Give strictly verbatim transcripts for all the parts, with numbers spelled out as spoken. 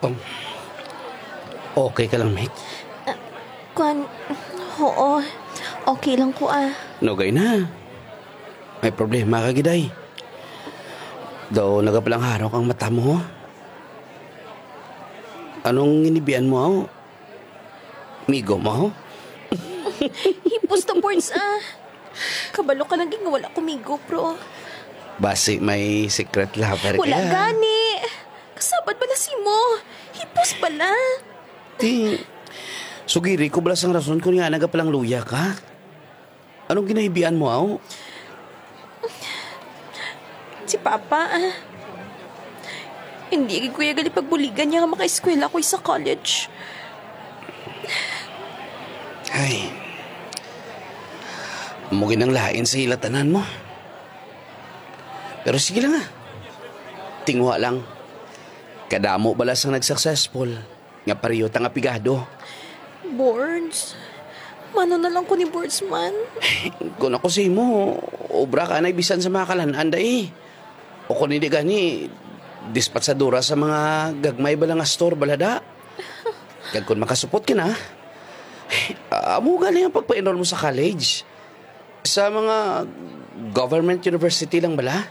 Um, okay ka lang, Mick? Kwan, oo. Okay lang ko, ah. Nugay na. May problema ka, giday. Daw nagapalangharok ang mata mo. Anong ginibian mo, aw? Migo mo? Hipos ta, Bords, ah. Kabalo ka lang gid nga wala ko migo, bro. Basi may secret lover Wala kaya? Gani. Kasabad bala si mo. Hipos bala. Ti, sugiri ko bala sang rason kung nga nagapalangluya ka. Anong ginahibian mo, aw? Si Papa, ah. Hindi gid ko iya gali pagbuligan niya nga makaeskwela ko sa college. Ay. Amo gid ang lain sa hilatanan mo. Pero sige lang, ah. Tingwa lang. Kadamo bala sang nag-successful nga pareho ta nga pigado. Boards? Mano na lang ko ni Boards man? Kung ako sa imo, obra ka na bisan sa mga kalan-an, day. O kung hindi gani, dispatsadora sa mga gagmay bala nga store, balada. Kag kung makasupot ka na, amo gani ang pagpa-enroll mo sa college. Sa mga government university lang bala.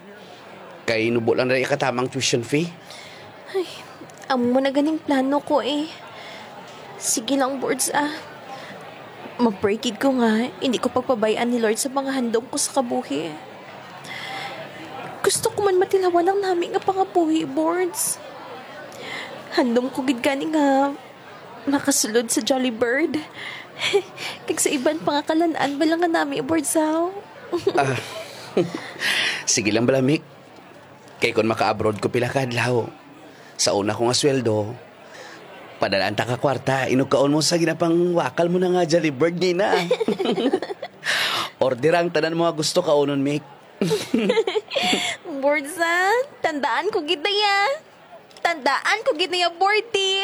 Kay nubo lang na ikatamang tuition fee. Ay, amo na ganing plano ko eh. Sige lang, Boards, ah. Mag-pray gid ko nga hindi ko pagpabay-an ni Lord sa mga handom ko sa kabuhi. Gusto ko man matilawan ang nami nga pangabuhi, Boards. Handom ko gid gani nga makasulod sa Jolly Bird. Kag sa iban pa nga kalan-an bala nga nami, Boards, aw. Ah, sige lang bala, Mick. Kay kung maka-abroad ko pila ka adlaw, sa una ko nga sweldo, padalaan ta ka kwarta, inugkaon mo sa ginapangwakal mo na nga Jolly Bird, Nina. Order ang tanan mo nga gusto kaunon, Mick. Boards, ah. Tandaan ko gid na ya. Tandaan ko gid na ya, Bordy.